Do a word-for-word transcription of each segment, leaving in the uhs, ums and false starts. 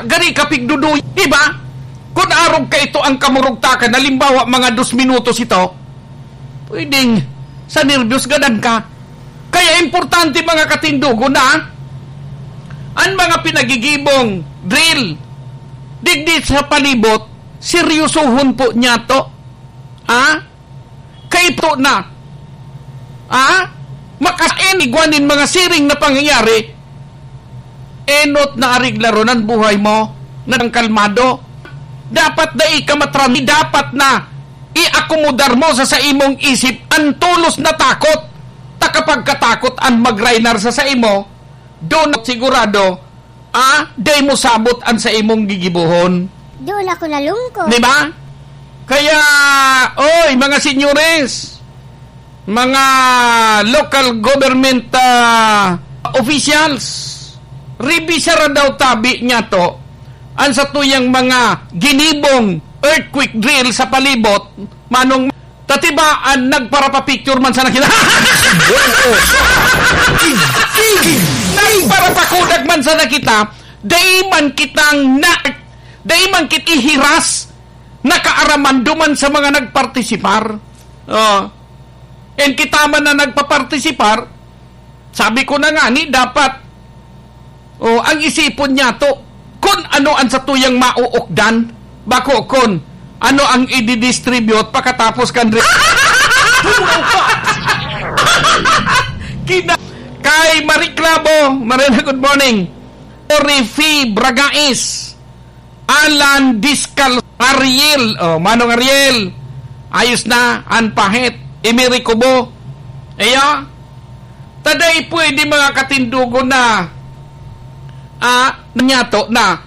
Gari ka pigduduy, di ba? Kun arog ka ito ang kamurugtakan, halimbawa, mga dos minutos ito, pwedeng sa nerbyos gadan ka. Kaya importante, mga katindogon, na an mga pinagigibong drill digdi sa palibot, seryosohon po niya to. Ha? Kaito na. Ha? Makaen igwa nin mga siring na pangyayari, enot na areglaron an buhay mo na nang kalmado. Dapat dai ka matrami, dapat na iakomodar mo sa, sa imong isip an tolos na takot. Ta kapag katakot an magrainar sa, sa imo, doon sigurado, ah, dai mo sabot an sa imong gigibohon. Doon ako nalungkot. Di ba? Kaya, oy, mga senyores, mga local government, ah, officials, rebisara daw tabi niya to, an satuyang mga ginibong earthquake drill sa palibot, manong tatibaan, nagparapapicture man sana kita. Nagparapakudag man sana kita, dai man kitang na, dai man kit ihiras, nakaaraman duman sa mga nagpartisipar. Oh. And kita man na nagpapartisipar, sabi ko na nga, ni dapat, oh, ang isipon niya to, kun ano ang satuyang mauukdan, bako kun ano ang ididistribute pakatapos kan re-, Kina-, kay Marie Clavo, Marina, good morning. Orifi Bragais. Alan Discal, Ariel. Oh, Manong Ariel. Ayos na, an pahit. Emiri Kubo. Iyo. Ta dai pwede, mga katindogon, na, ah, nanyato na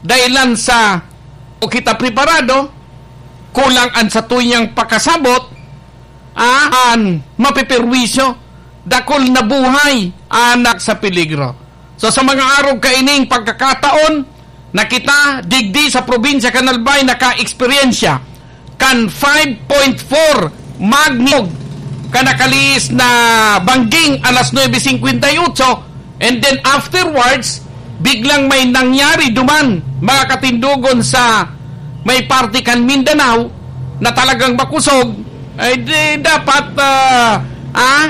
dahilan sa o kita preparado, kulang an satuyang pakasabot, ah, an mapeperwisyo, dakul na buhay an sa peligro. So, sa mga arog kaining pagkakataon na kita digdi sa probinsya kan Albay naka-eksperyensya kan five point four magnitude kan nakalihis na bangging alas nuebe singkwenta y otso, and then afterwards, biglang may nangyari duman, mga katindogon, sa may parte kan Mindanao na talagang makusog, ay di, dapat, ah, ah,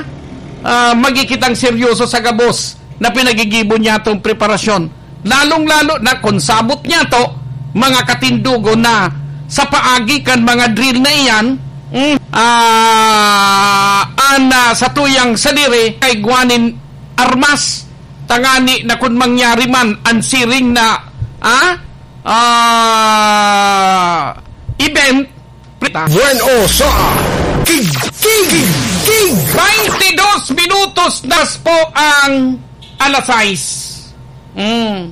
ah, magiging kitang seryoso sa gabos na pinagigibo niyatong preparasyon. Lalong-lalo na kun sabot niyato, mga katindogon, na sa paagi kan mga drill na iyan, mm, ah, an, ah, satuyang sadiri kay igwa nin armas, tangani na kun mangyari man an siring na, ah, ah, event, Bueno sa Tig-, Tig-, Tig-, Baintidos minutos na po ang alas sais. Mm.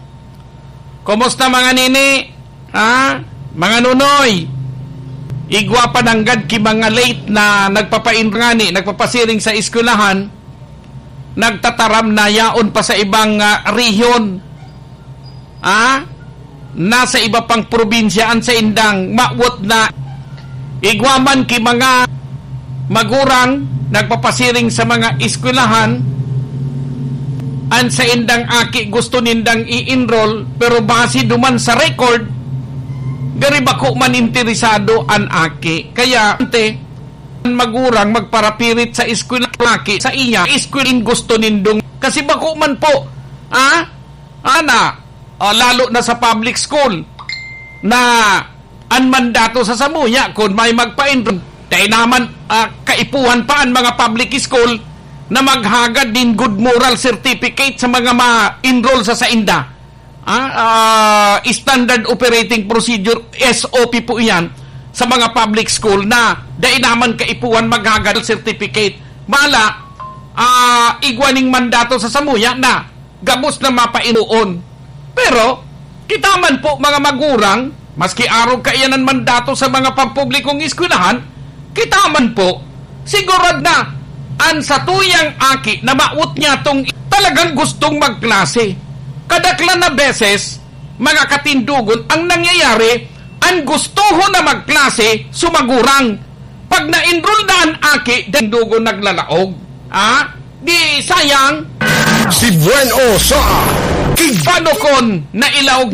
Kumusta, mga nini? Ha? Mga nunoy? Igwa pa nanggad ki mga late na nagpapainrangani, nagpapasiring sa eskwelahan, nagtataram na yaon pa sa ibang, ah, rehiyon. Ah, nasa iba pang probinsya an saindang mawot na igwa man ki mga magurang nagpapasiring sa mga eskwelahan, an saindang aki gusto nindang i-enroll, pero base duman sa record, gari bako man interesado an aki. Kaya, ante, an magurang magparapirit sa eskwela aki sa iya, eskwela in gusto nindong, kasi bako man po, ah, Ana, ah, lalo na sa public school, na an mandato sa samuya, kun may magpa-enroll, dai naman, ah, kaipuhan pa an mga public school na maghagad nin good moral certificate sa mga ma-enroll sa sainda. Ah, ah, standard operating procedure, S O P po iyan, sa mga public school na dai naman kaipuhan maghagad certificate. Mala, ah, igwa ning mandato sa samuya na gabos na mapainuon. Pero, kita man po, mga magurang, maski arog kaiyan an mandato sa mga pampublikong eskwelahan, kita man po, sigurad na an satuyang aki na mawot niya tong talagang gustong magklase. Kadaklan na beses, mga katindogon, ang nangyayari, an gustohon na magklase, sumagurang. Pag na-enroll na an aki, dindugo naglalaog. Ah? Di sayang? Si Buen O sa Tig- Paano kon nailaog